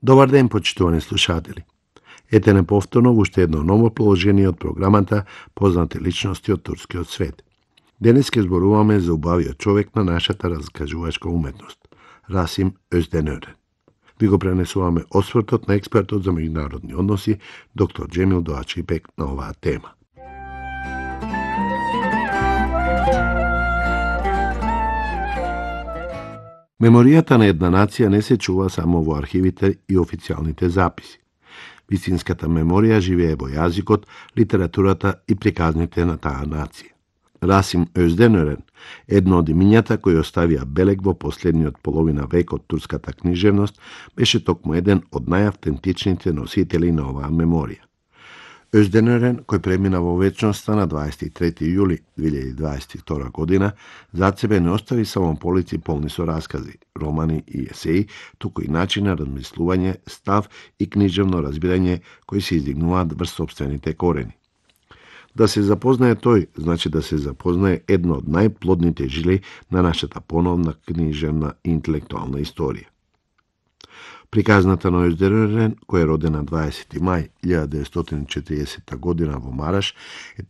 Добар ден, почитувани слушатели. Ете неповторно во уште едно ново положение од програмата Познати личности од турскиот свет. Денес ќе зборуваме за убавиот човек на нашата раскажувачка уметност, Расим Özdенören. Ви го пренесуваме освртот на експертот за меѓународни односи, доктор Джемил Доачипек, на оваа тема. Меморијата на една нација не се чува само во архивите и официјалните записи. Вистинската меморија живее во јазикот, литературата и приказните на таа нација. Расим Özdенören, едно од имињата кои оставија белег во последниот половина век од турската книжевност, беше токму еден од најавтентичните носители на оваа меморија. Özdенören, кој премина во вечноста на 23. јули 2022 година, зад себе не остави само полици полни со раскази, романи и есеи, туку и начин на размислување, став и книжевно разбирање кои се издигнуваат врз сопствените корени. Да се запознае тој, значи да се запознае едно од најплодните жили на нашата поновна книжевна и интелектуална историја. Приказната на Özdенören, кој е роден на 20. мај 1940 година во Мараш, е